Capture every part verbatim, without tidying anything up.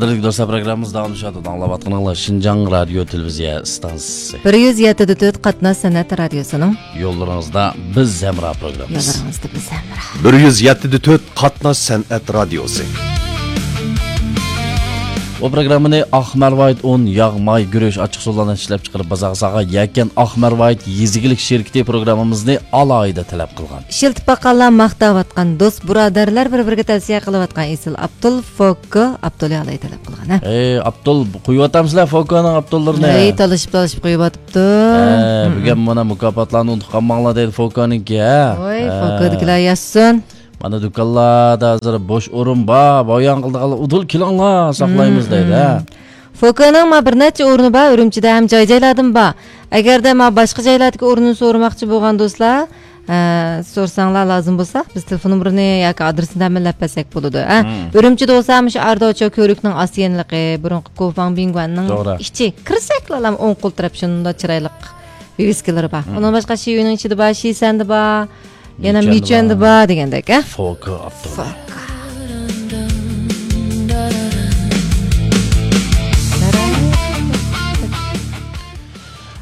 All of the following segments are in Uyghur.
ھۆرمەتلىك دوستلار، پروگراممىمىز داۋاملىشىۋاتىدۇ. ئاڭلاۋاتقىنىڭلار شىنجاڭ رادىيو تېلېۋىزىيە ئىستانسىسى. بىر يۈز يەتتە دە تۆت قاتناش سەنئەت رادىيوسىنىڭ يوللىرىڭىزدا بىز ھەمراھ پروگراممىسى. يوللىرىڭىزدا بىز ھەمراھ. بىر يۈز يەتتە دە تۆت قاتناش سەنئەت رادىيوسى. بۇ پروگراممىنى ئاق مەرۋايىت ئۇن، ياغ، ماي، گۈرۈچ، ئاچچىقسۇلارنى ئىشلەپچىقىرىپ بازارغا سالغان يەكەن ئاق مەرۋايىت يېزا ئىگىلىك شىركىتى پروگراممىمىزنى ئالاھىدە تەلەپ قىلغان. ئىشلىتىپ باققانلار ماختاۋاتقان، دوست بۇرادەرلەر بىر-بىرىگە تەۋسىيە قىلىۋاتقان ئېسىل ئابدۇل فوككو ئابدۇلى ئالاي تەلەپ قىلغان، ھە. ئەي ئابدۇل، قۇيۇۋاتامسىلەر فوككونىڭ ئابدۇللىرىنى؟ ئەي، تالىشىپ تالىشىپ قۇيۇۋاتىپتۇ. ھە، بۈگۈن مانا مۇكاپاتلارنى ئۇنتۇپ قالماڭلار دەيدۇ فوككونىڭكى، ھە. ۋاي، ھە. فوككودىكىلەر ياشىسۇن. مانا دۇكانلاردا ھازىر بوش ئورۇن بار، بايان قىلىدىغانلار ئۇدۇل كېلىڭلار، ساقلايمىز دەيدۇ، ھە. فوككونىڭ ما بىر نەچچە ئورنى بار، ئۈرۈمچىدە ھەم جاي-جايلاردىمۇ بار. ئەگەردە ما باشقا جايلاردىكى ئورنىنى سورىماقچى بولغان دوستلار، ئە، سورىساڭلار لازىم بولسا، بىز تېلېفون نومۇرىنى ياكى ئادرېسىنى تەمىنلەپ بەرسەك بولىدۇ، ھە. ئۈرۈمچىدە بولسا مۇشۇ ئاردوچو كۆۋرۈكنىڭ ئاستى يېنىلىقى، بۇرۇنقى كوفاڭ بىڭگۇەننىڭ ئىچى. كىرسەكلا ئوڭ قول تەرەپ شۇنداق چىرايلىق ۋىۋىسكىلىرى بار. ئۇنىڭ باشقا شىيۈنىڭ ئىچىدە بار، شىسەندە بار، يەنە مىچۈەندە بار دېگەندەك، ھە؟ فوككو ئاپتوموبىل.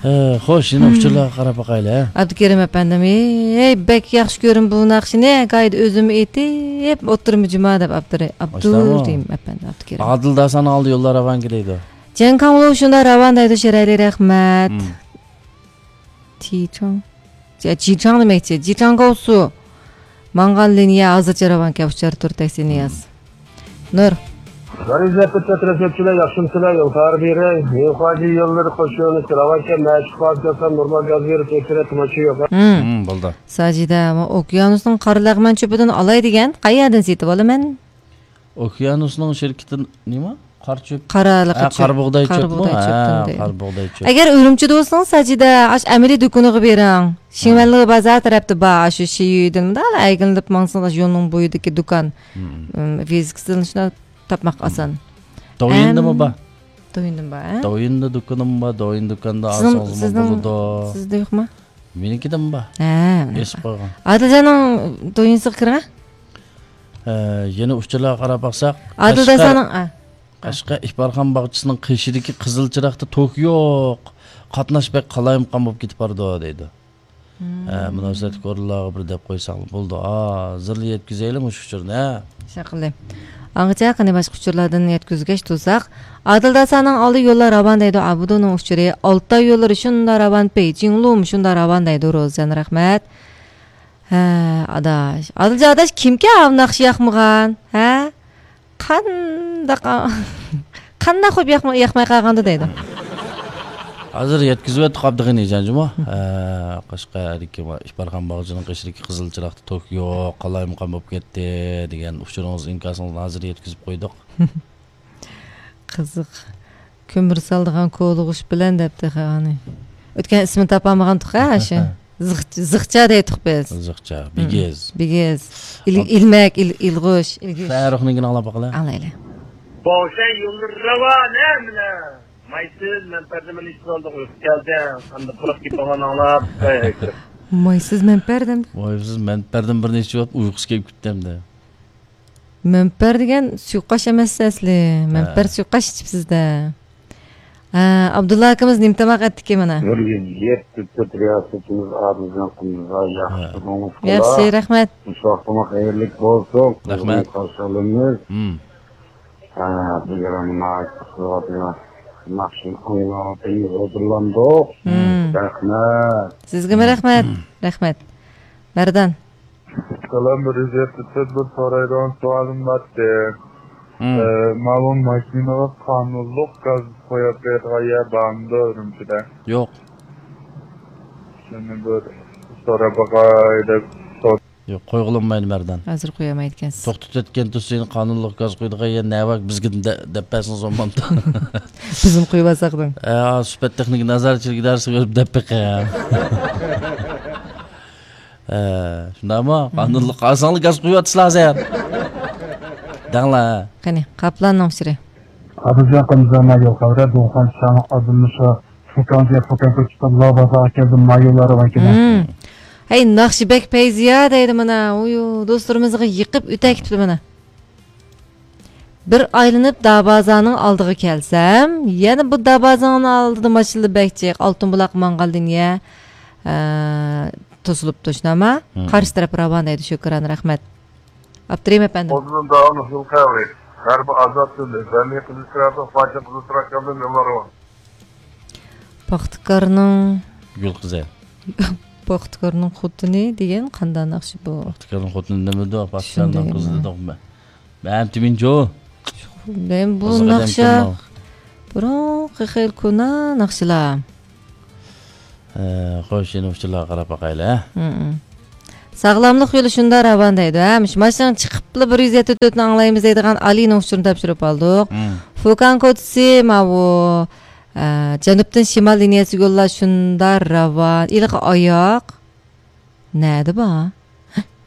ھە، خوش، يەنە ئۇچۇرلارغا قاراپ باقايلى، ھە؟ ئابدۇكېرىم ئەپەندىم، ھەي، بەك ياخشى كۆرىمەن بۇ ناخشىنى، قايدا ئۆزۈم ئېيتىپ ئولتۇرىمەن جۇما دەپ ئاپتورى ئابدۇرېھىم ئەپەندى، ئابدۇكېرىم. ئادىل داسانىڭ ئالدى يوللار راۋانكى دەيدۇ. جەڭ كاڭلۇ شۇنداق راۋان دەيدۇ، شېرەيلى رەھمەت. جىچاڭ. جىچاڭ دېمەكچى. جىچاڭ گاۋسۇ. ماڭغان لىنىيە ھازىرچە راۋانكەن، ئۇچار تۇر تەكسى نىياز. نۇر. بىر يۈز يەتتە تۆت رەسىدچىلەر ياخشىمسىلەر؟ يول خەۋىرى بېرەي. يېڭىخۇاجى يوللىرى قوشۇنى راۋانكەن، مەشىق پارتىيەسى نورمال گاز بېرىپ ئۆتكۈزە، تىماچى يوق. بولدى. ساجىدە، ئوكيانۇسنىڭ قارا لەغمەن چۆپىدىن ئالاي دېگەن، قەيەردىن سېتىۋالىمەن؟ ئوكيانۇسنىڭ شىركىتى نېمە؟ قارا چۆپ. قارا ھە، چۆپ. قارا بۇغداي قارا چۆپمۇ؟ بۇغداي ھە، چۆپتىن دەيدۇ. قارا بۇغداي چۆپ. ئەگەر ئۈرۈمچىدە بولسىڭىز، ساجىدە، ئاش ئەمەلىي دۇكىنىغا بېرىڭ. شىڭۋەنلىغ بازار تەرەپتە بار، ئاشۇ شىيۈدىن مۇنداق ئەگىلىنىپ ماڭسىڭىز، ئاشۇ يولنىڭ بويىدىكى دۇكان. ۋىزىكىسىدىن شۇنداق تاپماق ئاسان. دوۋيىندىمۇ بار؟ دوۋيىندىمۇ بار، ھە؟ دوۋيىندا دۇكىنىمۇ بار، دوۋيىن دۇكاندا سىزنىڭ، ئالسىڭىزمۇ سىزنىڭ بولىدۇ. سىزدە يوقمۇ؟ مېنىڭكىدىمۇ بار. ھە. ئېسىپ قويغان. ئادىلجاننىڭ دوۋيىنسىغا كىرىڭە. ھە، يەنە ئۇچۇرلارغا قاراپ باقساق، ئادىل قەشقەر، داسانىڭ، ئا. قەشقەر ئىپارخان باغچىسىنىڭ قېشىدىكى قىزىل چىراغدا توك يوق. قاتناش بەك قالايمىقان بولۇپ كېتىپ بارىدۇ، دەيدۇ. ھە، مۇناسىۋەتلىك ئورۇنلارغا بىر دەپ قويساڭلار بولىدۇ. ھازىرلا يەتكۈزەيلى مۇشۇ ئۇچۇرنى، ھە. شۇنداق قىلدى. ئاڭغىچە قېنى باشقا ئۇچۇرلاردىن يەتكۈزگەچ تۇرساق. ئادىل داسانىڭ ئالدى يوللار راۋان دەيدۇ، ئابۇدۇنىڭ ئۇچۇرى. ئالتاي يوللىرى شۇنداق راۋان، پېيچىڭلۇمۇ شۇنداق راۋان دەيدۇ، روزىجان رەھمەت. ھە، ئاداش. ئادىلجان ئاداش، كىمكەن ئاۋۇ ناخشا ياقمىغان؟ ھە؟ قانداق، قانداق قويۇپ ياقماي، ياقماي قالغاندۇ دەيدۇ. ھازىر يەتكۈزۈۋەتتۇق ئابدۇغېنى جان جۇمۇ. ھە، قەشقەردىكى ئىپارخان باغچىنىڭ قېشىدىكى قىزىل چىراغدا توك يوق، قالايمىقان بولۇپ كەتتى دېگەن ئۇچۇرىڭىز، ئىنكاسىڭىزنى ھازىر يەتكۈزۈپ قويدۇق. قىزىق. كۆمۈر سالىدىغان كولىغۇچ بىلەن دەپتۇ خانى. ئۆتكەن ئىسمىنى تاپالمىغانتۇق ھە، شۇ. زىخ-، زىخچا دەيتتۇق بىز. زىخچا، بىگىز. بىگىز. ئىل-، ئىلمەك، ئىل-، ئىلغۇچ، ئىلگۈچ. فەرۇخنىڭكىنى ئاڭلاپ باقىلى. ئاڭلايلى. بوشاي يوللىرى راۋانە مايسىز مەنپەردىن بىر نېچە بولدى ئۇيقۇ كەلدى. ئەمدى قۇرۇق گېپىڭلارنى ئاڭلاپ. مايسىز مەنپەردىن. مايسىز مەنپەردىن بىر نېچە بولۇپ ئۇيقۇسى كېلىپ كېتىپتۇ ئەمدى. مەنپەر دېگەن سۇيۇقئاش ئەمەس ئەسلى. مەنپەر ھە. سۇيۇقئاش ئىچىپسىز-دە. ھە، ئابدۇللا ئاكىمىز نېمە تاماق ئەتتىكى مانا؟ بىر يۈز يەتتە تۆت رىياسىتىمىز ئادىلجان قۇمۇزغا ياخشى ھە. تۇرۇڭىز ياخشى، رەھمەت. مۇشۇ ۋاقتىڭلار خەيرلىك بولسۇن. رەھمەت. قىزغىن قارشى ئالىمىز. ھىم. ھە، بۈگۈن مانا قىلىۋاتىمىز. ناخشىنى ئاڭلاۋاتىمىز، ھۇزۇرلاندۇق. ھىم. رەھمەت. سىزگىمۇ رەھمەت. رەھمەت. مەردان. سالام، بىر يۈز يەتتە تۆت بىر سورايدىغان سوئالىم بارتى. مم. ئە، ماۋۇ ماشىنىغا قانۇنلۇق گاز قويۇپ بېرىدىغان يەر بارمىدۇ ئۈرۈمچىدە؟ يوق. شۇنى بىر سوراپ باقاي دەپ سور- يوق، قويغىلى بولمايدۇ، مەردان. ھازىر قويالمايدىكەنسىز. توختىتىۋەتكەن تۇرسىنى قانۇنلۇق گاز قويىدىغان يەر نەۋاك بىزگە دە-، دەپ بەرسىڭىز بولمامدۇ؟ بىزمۇ قويۇۋالساق دەڭ. ئە، سۈپەت تېخنىكا نازارەتچىلىك ئىدارىسىگە بېرىپ دەپ بېقىڭ. ئە، شۇنداقمۇ؟ قانۇنلۇق ئالساڭلار گاز قۇيۇۋاتىسىلەر ھازىر. دەڭلار. قېنى، قاپلاننىڭ ئۇچۇرى. ئابىجان قىمزانا يول خەۋرە، دۇڭخان شاڭ ئادىمنى شۇ فۇكاڭجيە فۇكاڭ كۆچۈپ لا بازارغا كەلدىم، ما يوللار راۋان كېلە. ھەي، ناخشا بەك پەيزىيا دەيدۇ مانا. ئۇيۇ، دوستلىرىمىزغا يېقىپ ئۆتە كېتىپتۇ مانا. بىر ئايلىنىپ دابازانىڭ ئالدىغا كەلسەم، يەنە بۇ دابازانىڭ ئالدىدا ماشىنىلار بەك جىق، ئالتۇن بۇلاق ماڭغان لىنىيە، ئە، توسۇلۇپتۇ، شۇنداقما؟ مم. قارشى تەرەپ راۋان دەيدۇ، شۈكران، رەھمەت. ئابدۇرېھىم ئەپەندىم. ئۇزۇن داۋاملىق يول قەۋرى. غەربىي ئازاد تىلى. بەرلىن قىزىل تىراپىق، پاچا قىزىل تىراكامدىن يوللار راۋان. پاختىكارنىڭ گۈل قىزى. پاختىكارنىڭ خوتۇنى دېگەن قانداق ناخشا بۇ؟ پاختىكارنىڭ خوتۇنى نېمىدۇ؟ پاختىكارنىڭ قىزى دېدۇق. مەن تىمىنچۇ. مەن بۇ ناخشا بۇرۇنقى خېلى كونا ناخشىلار. ئە، خوش، يەنە ئۇچۇرلارغا قاراپ باقايلى، ھە؟ ساغلاملىق يولى شۇنداق راۋان دەيدۇ، ھە؟ مۇشۇ ماشىنىنى چىقىپلا بىر يۈز يەتتە تۆتنى ئاڭلايمىز دەيدىغان ئالىنىڭ ئۇچۇرىنى تاپشۇرۇپ ئالدۇق. فۇكان كوچىسى ماۋۇ، ئە، جەنۇبتىن شىمال لىنىيەسىگە يوللار شۇنداق راۋان. ئىلىقى ئاياق. نەدە بار؟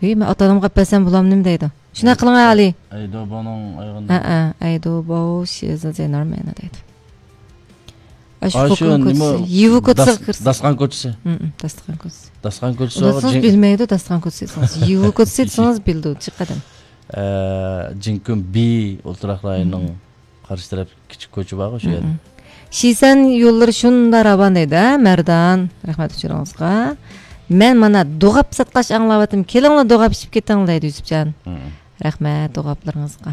ھەي، مەن ئاتا-ئانامغا ئەپ بەرسەم بولامدۇ نېمە دەيدۇ؟ شۇنداق قىلىڭ ئەي، ئالىي. ئەيدۇبانىڭ ئايىغىنى. ھەئە، ئەيدۇباۋ شىزى زەينار مەنە دەيدۇ. ئاشۇ ئاشۇ فۇكۇن نېمە، كوچىسى، يىۋۇ كوچىسىغا داس-، كىرسە. داسقان كوچىسى. ھىم، ھىم، داسقان كوچىسى. داسقان كوچىسى ئۇنىڭ ئۇنىڭ جىڭ- بىلمەيدۇ، داسقان كوچىسى دېسىڭىز. يىۋۇ كوچىسى دېسىڭىز بىلىدۇ، چىقىدىم. ئە، جىڭكۈن بى ئولتۇراق رايونىنىڭ قارشى تەرەپ كىچىك كوچا بارغۇ، شۇ يەردە. شىسەن يوللىرى شۇنداق راۋان دەيدۇ، ھە، مەردان. رەھمەت ئۇچۇرىڭىزغا. مەن مانا دوغاپ ساتقاچ ئاڭلاۋاتىمەن. كېلىڭلار، دوغاپ ئىچىپ كېتىڭ دەيدۇ يۈسۈپجان. رەھمەت دوغاپلىرىڭىزغا.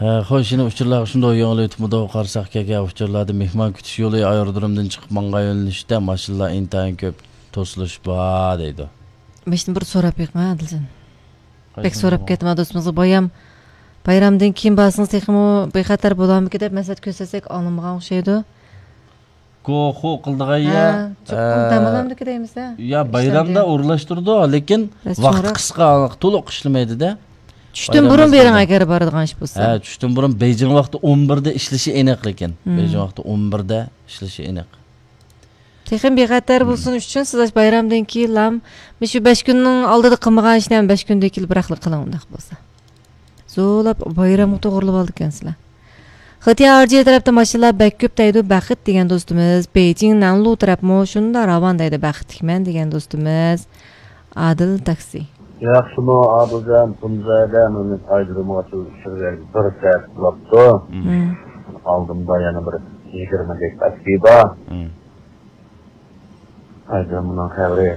ھە، خوش، يەنە ئۇچۇرلارغا شۇنداق يېڭىلىۋېتىپمىدۇ؟ قارىساق، كەلگەن ئۇچۇرلاردا مېھمان كۈتۈش يولى ئايرودرومدىن چىقىپ ماڭغان يۆنىلىشتە ماشىنىلار ئىنتايىن كۆپ توسۇلۇش بار دەيدۇ. ماشىنا بىر سوراپ بېقىڭ، ئادىلجان. بەك سوراپ كەتتىم دوستىمىزغا. بايام، بايرامدىن كېيىن بارسىڭىز تېخىمۇ بىخەتەر بولارمىكىن دەپ مەسلىھەت كۆرسەتسەك ئاڭلىمىغان ئوخشايدۇ. گوخۇ قىلىدىغان يا، ھە، چوقۇم ئە، دەم ئالامدىكى دەيمىز-دە. يا، بايرامدا ئورۇنلاشتۇرىدۇ، لېكىن ۋاقتى قىسقا، تولۇق ئىشلىمەيدۇ-دە. چۈشتىن بۇرۇن بېرىڭ، ئەگەر بارىدىغان ئىش بولسا. ھە، چۈشتىن بۇرۇن بېيجىڭ ۋاقتى ئون بىردە ئىشلىشى ئېنىق، لېكىن. بېيجىڭ ۋاقتى ئون بىردە ئىشلىشى ئېنىق. تېخىمۇ بىخەتەر بولسۇن ئۈچۈن سىز بايرامدىن كېيىنلا مۇشۇ بەش كۈننىڭ ئالدىدا قىلمىغان ئىشنى ھەم بەش كۈندىن كېيىن بىراقلا قىلىڭ، ئۇنداق بولسا. زورلاپ بايرامغا توغرىلاپ ئالىدىكەنسىلەر. ختىيار ئارجى تەرەپتە ماشىنىلار بەك كۆپ دەيدۇ، بەخت دېگەن دوستىمىز. بېيجىڭ نەنلۇ تەرەپمۇ شۇنداق راۋان دەيدۇ، بەختلىكمەن دېگەن دوستىمىز. ئادىل تاكسى. ياخشىمۇ ئادىلجان، تۇنجايدا مېنى ئايرودرومغا چۈشۈرگەن بىر سائەت بوپتۇ. مم. ئالدىمدا يەنە بىر يىگىرمە دەقىقە بار. مم. ئايرودرومنىڭ خەۋىرى.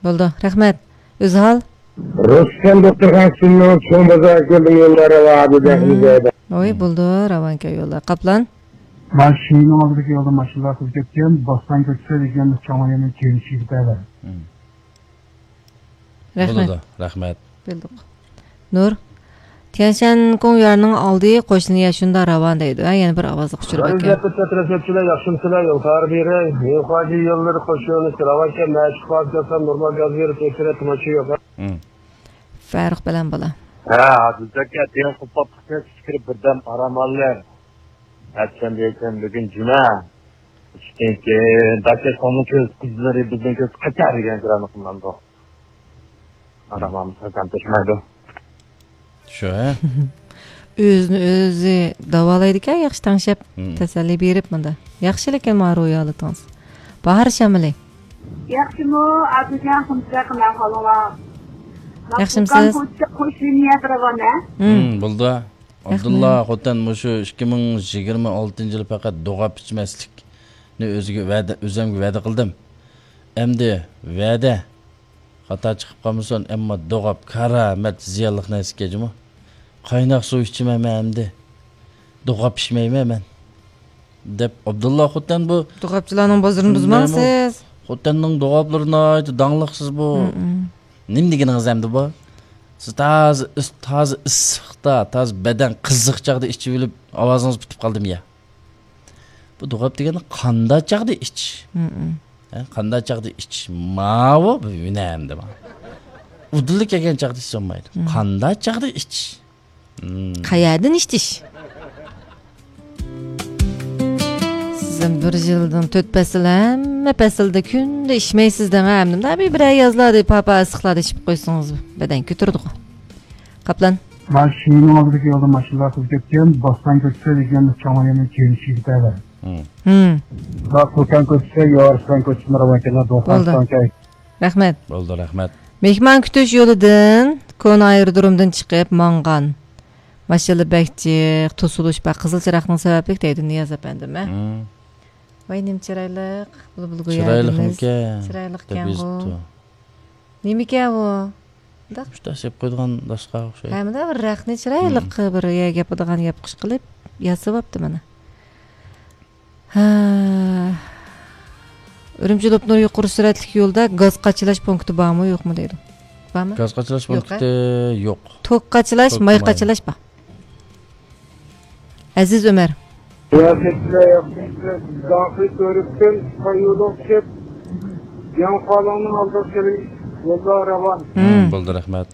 بولدى، رەھمەت. ئۆزھال. رۇستەم دوختۇرخانىسىنىڭ چوڭ بازار كۆلىدىن يوللار راۋان دەيدۇ. ھوي، بولدى، راۋانكەن يوللار. قاپلان. ماشىنىنىڭ ئالدىدىكى يولدا ماشىنىلار قىزىپ كەتكەن، بوستان كوچىسى دېگەن چوڭ يولنىڭ كېيىنى چىقىپ. رەھمەت. بولىدۇ، رەھمەت. بىلدۇق. نۇر. تيەنشەن كوڭ يارنىڭ ئالدى قوشنا يا شۇنداق راۋان دەيدۇ. ھە، يەنە بىر ئاۋازلىق ئۇچۇر بار ئىكەن. ئەزىزلەر، قىزلار، تەرەپچىلەر، ياخشىمسىلەر؟ يول خەۋىرى بېرەي. يوقاجى يوللىرى قوش يولنى راۋانكەن، مەشىق باز كەلسەم نورمال گاز بېرىپ ئۆتۈرە، تىماچى يوق. فەرۇق بىلەن بالا. ھە، ھازىرچە كەتكەن قۇپاپ كىرىپ بىردەم ئارام ئالىمەن. ئەتسەم دېسەم بۈگۈن جۈمە. ئىشتىن كېيىن داكا سومۇ كۆز قىزلىرى بىزنىڭ كۆز قاچار دېگەن كىرانى قىلمامدۇ. ئارام ئالمىسا كەم تەشمەيدۇ. شۇ، ھە؟ ئۆزىنى ئۆزى داۋالايدىكەن، ياخشى تەڭشەپ، مم. تەسەللى بېرىپ مۇندا. ياخشى، لېكىن ما روھىي ھالىتىڭىز. باھار شامىلى. ياخشىمۇ، ئابدۇجان، قۇمساق، قانداق ئەھۋالىڭلار؟ ياخشىمسىز؟ قوش لىنىيە راۋان، ھە؟ مم. مم، بولدى. رەھمەت. ئابدۇللا خوتەن مۇشۇ ئىككى مىڭ يىگىرمە ئالتىنچى يىلى پەقەت دوغاپ ئىچمەسلىكنى ئۆزىگە ۋەدە، ئۆزۈمگە ۋەدە قىلدىم. ئەمدى ۋەدە خاتا چىقىپ قالمىسۇن، ئەمما دوغاپ كارامەت زىيانلىق نەرسىكەن جۇمۇ. قايناق سۇ ئىچىمەن مەن ئەمدى. دوغاپ ئىچمەيمەن مەن. دەپ ئابدۇللا خوتەن بۇ دوغاپچىلارنىڭ بازىرىنى بۇزماڭ سىز. خوتەننىڭ دوغاپلىرى ناھايىتى داڭلىقسىز بۇ. مم. نېمە دېگىنىڭىز ئەمدى بۇ؟ سىز تازا ئىس-، تازا ئىسسىقتا، تازا بەدەن قىزىق چاغدا ئىچىۋېلىپ ئاۋازىڭىز پۈتۈپ قالدىمۇ يا؟ بۇ دوغاپ دېگەننى قانداق چاغدا ئىچ؟ مم. ھە، قانداق چاغدا ئىچ؟ ماۋۇ بىر ھۈنەر ئەمدى ماۋۇ. ئۇدۇللا كەلگەن چاغدا ئىچسە بولمايدۇ. مم. قانداق چاغدا ئىچ؟ مم. قەيەردىن ئىچىش؟ سىزم بىر يىلدىن تۆت پەسىل، ھەممە پەسىلدە كۈندە ئىچمەيسىز دەڭ، ھە، ئەمدى مۇنداق بىر، بىرەر يازلاردا پاپا ئىسسىقلاردا ئىچىپ قويسىڭىز، بەدەن كۆتۈرىدىغۇ. قاپلان. مانا شىنىڭ ئالدىدىكى يولدا ماشىنىلار قىزىپ كەتكەن، بوستان كوچىسى دېگەن چوڭ يولنىڭ كېيىنى چىقىپ. مم. مم. بۇلار قوكان كوچىسى، يارسان كوچىسىنى راۋان كېلىدۇ. بولدى. رەھمەت. بولدى، رەھمەت. مېھمان كۈتۈش يولىدىن كونا ئايرودرومدىن چىقىپ ماڭغان. ماشىنا بەك جىق، توسۇلۇش بار، قىزىل چىراغنىڭ سەۋەبلىك دەيدۇ نىياز ئەپەندىم، ھە؟ مم. ۋاي، نېمە چىرايلىق، بۇلبۇل گويا ئادىمىز. چىرايلىقمىكەن؟ چىرايلىقكەنغۇ. نېمىكەن ئۇ؟ مۇنداق. شۇنداق سېلىپ قويىدىغان داشقا ئوخشايدۇ. ھەمدە بىر رەخنە چىرايلىق، مم، بىر يەپ بولىدىغان ياپقۇچ قىلىپ ياسىۋاپتۇ مانا. ھە. ئۈرۈمچى لوپنۇر يۇقىرى سۈرئەتلىك يولدا گاز قاچىلاش پونكىتى بارمۇ، يوقمۇ دەيدۇ. بارمۇ؟ گاز قاچىلاش پونكىتى يوق. توك قاچىلاش، توك ماي قاچىلاش بار. ئەزىز ئۆمەر. سىياسەتچىلەر ياخشى ئىشلەپ، داخىل كۆرۈپتىن، قايۇدۇق چىپ، ياڭفالىڭنىڭ ئالدىغا كېلىش يولدا راۋان. مم. بولدى، رەھمەت.